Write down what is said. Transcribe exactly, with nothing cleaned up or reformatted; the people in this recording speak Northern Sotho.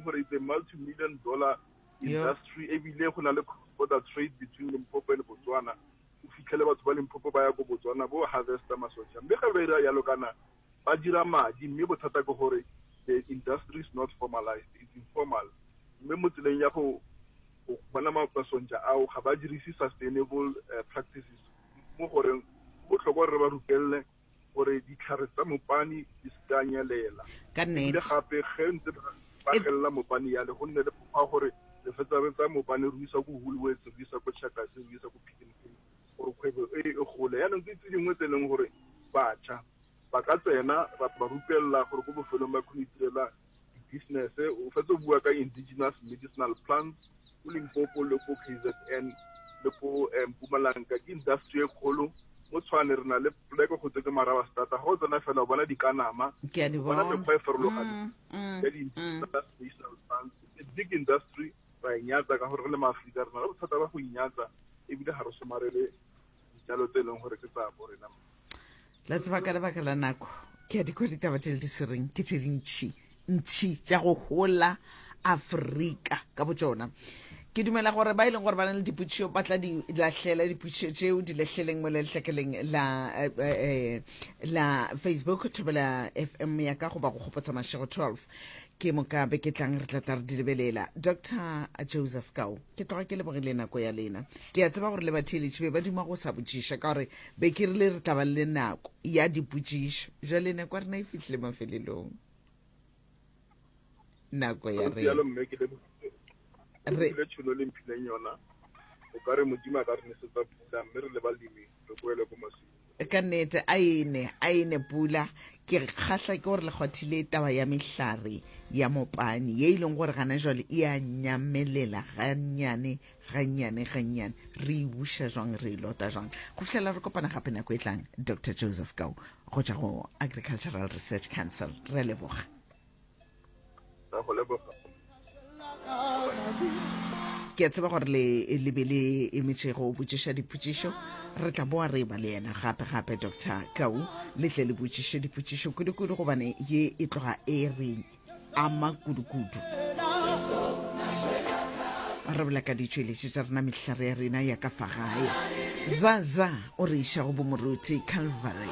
gore it's a multi-million dollar industry, ebile go na le cross border trade between Limpopo le Botswana. O fitlhele batho ba Limpopo ba ya ko Botswana bo harvesta masonja, mme ga ba ira yalo kana ba dira madi. Mme bothata ke gore the industry is not formalized, it's informal. Mme mo tseleng ya go go bona masonja ao, ga ba dirise sustainable uh, practices, mo goreng go botlhokwa gore re ba rupelele gore ditlhare tsa mopane di se ka nyelela. Ka ebile nnete. Gape ge ntse ba ba E- gelela mopane yale, go nne le mokgwa gore re fetsa re tsaya mopane, re o isa ko Woolworths, re o isa ko Checkers, re o isa ko Pick n Pay, gore kgwebo e e gole. Yaanong ke tse dingwe tse e leng gore batjha ba ka tsena, ra ba rupelela gore ko bofelong ba kgone go itirela di-business. O fetse o bua ka indigenous medicinal plants ko Limpopo le ko K Z N le ko eh, Mpumalanga, ke industry e kgolo. Mo Tshwane re na le poleke go tse ke Marabastata, ga o tsena fela o bona dikanama, Ke a di o bona bona. mekgwa e farologaneng Mm, mm, ya di-indigenous medicinal plants. It's a big industry. Ra e nyatsa ka gore re le Maaforika re na le bothata ba go inyatsa, ebile ga re somarele dijalo tse e leng gore ke tsa bo rena. La tseba, ka lebaka la nako, ke a di kwa ditaba tše le di swereng ke tše dintšhi ntšhi tša go hola Afrika ka botšona. Ke dumela gore ba e leng gore ba na le dipotšišo ba tla di lahlela dipotšišo tšeo di lahleleng mo lehlakeleng la eh, eh, la Facebook, Thobela F M ya ka, goba go Kgopotsa Mašego twelve. Ke moka be ke tlang re tla tla re di lebelela. Doctor Joseph Kau, ke tloga ke lebogile nako ya lena. Ke a tseba gore le batheeletši be ba duma go sa botšiša, ka gore be ke rile re tla ba le nako ya dipotšišo. Jale nako ya rena e fihlile mafelelong, nako ya Jalo rena. Mme ke lebogile Re- le tšhono le mphileng yona. O ka re Modimo a ka re nesetsa pula, mme re le balemi re boele ko masimong. Ka nnete, a ene a ene pula. Ke kgahla ke gore le kgwathile taba ya mehlare ya mopane ye e leng gore gana jwale e a nyamelela gannyane gannyane gannyane. Re e buša jwang, re e lota jwang? Go fihlela re kopana gape nako e tlang, Doctor Joseph Kau go tšwa go Agricultural Research Council, re a leboga. Ra go leboga. Ke a tseba gore le le be le emetše go botšiša dipotšišo. Re tla boa re ba le yena gape gape, Doctor Kau, le tle le botšiše dipotšišo kudu-kudu, gobane ye e tloga e re ama kudu-kudu. Re bola ka ditšweletši tša rena, mehlare ya rena ya ka fa gae. Zaza o re iša go bomoruti Calvary.